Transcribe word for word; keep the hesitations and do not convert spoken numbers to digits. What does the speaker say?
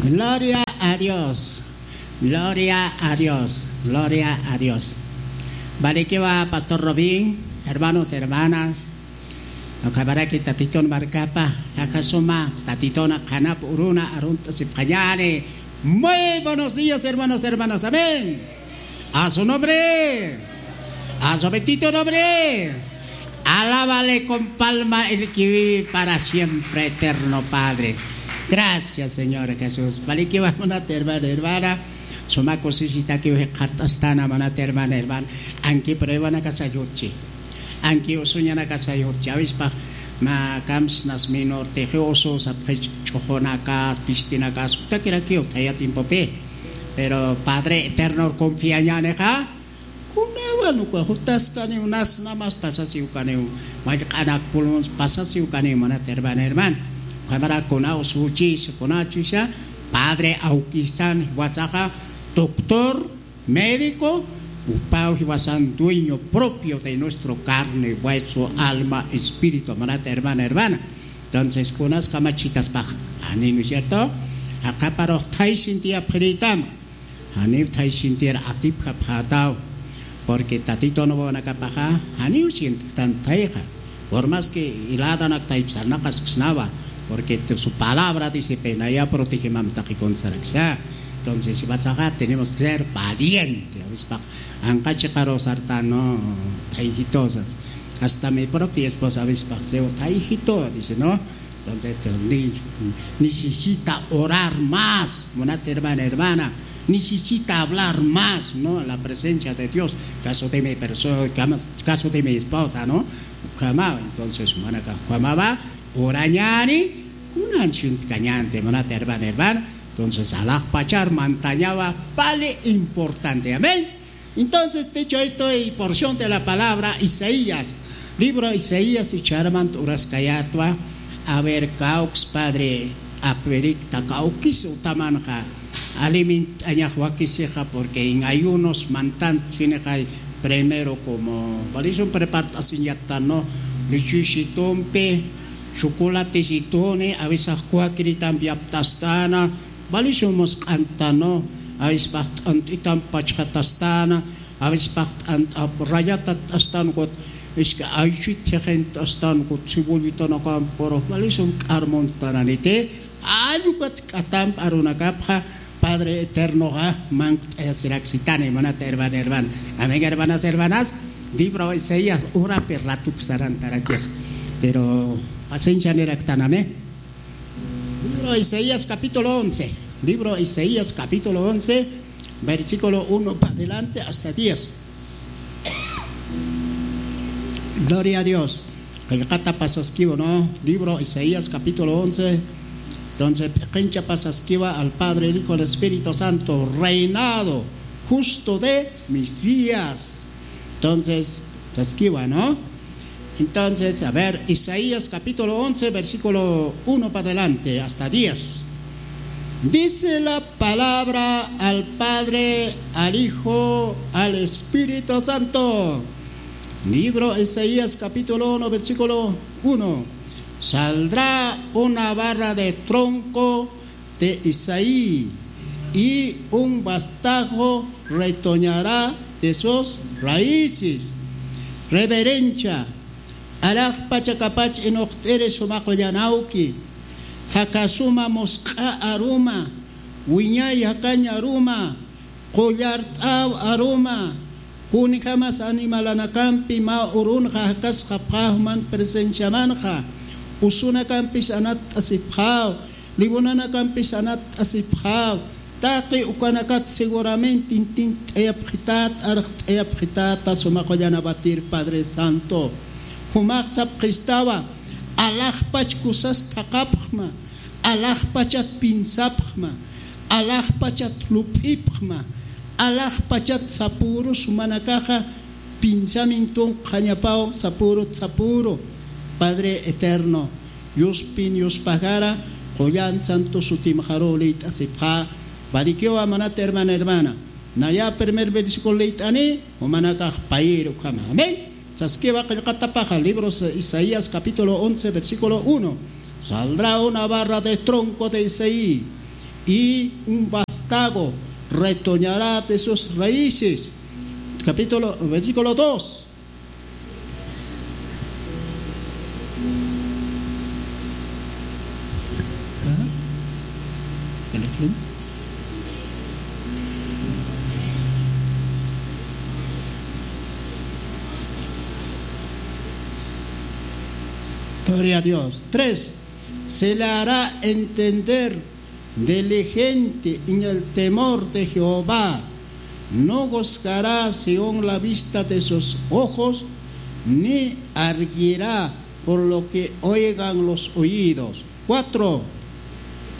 Gloria a Dios. Gloria a Dios. Gloria a Dios. Valikiwa, Pastor Robin, hermanos, hermanas. Ukamaraki Tatitun markapa, akasuma, Tatituna qhanap uruna arunt'asipxañani. Muy buenos días, hermanos, hermanas. Amén. A su nombre. A su bendito nombre. Alábale con palma el que vive para siempre, eterno Padre. Gracias, Señor Jesús. Valikiwa, munat hermana, hermana. Suma kusisitakiw jikxatastana, munat hermana, hermana. Anki pruebanakasa yutchi. Anki usuñanakasa yutchi. Awispa mä kamsnas minor tixi usu sapxi ch'uxunakas, pistinakas, utakirakiw thaya tiempopi. Pero Padre Eterno confiañanixa, kunawan uka jutaskaniw, unas namas pasasiw kaniw, mallq'anak pulmons pasasiw kaniw, munat hermana, hermana. Ukhamara kuna usuchis, kuna chusa, Padre awkisan jiwasaxa, doctor, médico, upaw jiwasan dueño propio de nuestro carne, hueso, alma, espíritu, munat hermana, hermana. Entonces, kunas kamachitaspax, ani, ¿no es cierto? Aqaparux thaysinti apxirïtam. Janiw thaysintir atipjapxätaw, porque Tatitun wawanakapaxa janiw sientktan thayxa. Por más que hiladanak thaypsarnaqasksnawa, porque su palabra dice, pä naya protegimam taqi kuntsaraksa. Entonces, jiwasaxa tenemos que ser valiente. Awispax anqa chiqaru sartan, no, thayjitosas. Hasta mi propia esposa awispax, "Seu thayjito", dice, ¿no? Entonces, te- ni- necesita orar más, munat hermana, hermana. Necesita hablar más, ¿no? La presencia de Dios. Caso de mi persona, caso de mi esposa, ¿no? Ukhama, entonces, munakax ukhamawa, orañani, kunan sientkañanti, munat hermana, hermana. Entonces, alaxpachar mantañawa, vale importante. Amén. Entonces, dicho esto, y porción de la palabra, Isaías, libro Isaías, icharamant uraskayatwa, a ver, kawks, Padre, apirikta kawkis utamanxa, aliment'añax wakisixa, porque en ayunos mantant chinixay, primero como, valisun prepart'asiñattano, lichisitumpi, chocolatesituni, awisax kuakiritampi aptastana, valisun musq'antano, awispax t'ant'itam pachxatastana, awispax t'ant'ap rayatat t'astan, kut iska aychit thixint t'astan, kut cebollitanakamp, pero valisun k'armuntananiti, allukat k'atamp arunakapxa, Padre Eternoxa manq't'ayasiraksitani, munat hermana, hermana. Amén, hermanas, hermanas. Libro Isaías, urapi ratuk sarantarakix. Pero paciencia niraktanami. Libro Isaías capítulo once. Libro Isaías capítulo once, versículo uno para adelante hasta diez. Gloria a Dios. Qillqata pasaskiwa, ¿no? Libro Isaías capítulo once. Entonces, p'iqincha pasaskiwa al Padre, el Hijo, el Espíritu Santo, reinado justo de Mesías. Entonces, saskiwa, ¿no? Entonces, a ver, Isaías capítulo once, versículo uno para adelante, hasta diez. Dice la palabra al Padre, al Hijo, al Espíritu Santo. Libro Isaías capítulo uno, versículo uno. Saldrá una barra de tronco de Isaí, y un bastajo retoñará de sus raíces. Reverencia, alaxpachakapach inuqt'iri suma qullan awki, jakasuma musq'a aruma, wiñay jakañ aruma, qullart'aw aruma, kunjamas animalanakampi mä urunxa jakasxapxä juman presenciamanxa, usunakampis anatt'asipxäw, libunanakampis anatt'asipxäw, taqi ukanakat seguramente intint'ayapxität, arxt'ayapxitäta suma qullan awatir Padre Santo. Jumax sapxistawa, alaxpach kusas thaqapxma, alaxpachat piensapxma, alaxpachat lup'ipxma, alaxpachat sapürus jumanakaxa pensamienton qhañapaw sapürut sapüru. Padre Eterno, Yuspin yuspajara, qullan santo sutimxaruw liyt'asipxä. Valikiwa munat hermana, hermana. Naya primer versículo liyt'ani, jumanakax payïr ukhama. Amén. Saskiwa qillqatapaxa, libro Isaías capítulo once, versículo uno. Saldrá una barra de tronco de Isaí, y un vástago retoñará de sus raíces. Capítulo, versículo dos. Ajá. Gloria a Dios. Tres, se le hará entender diligente en el temor de Jehová. No juzgará según la vista de sus ojos, ni arguirá por lo que oigan los oídos. Cuatro,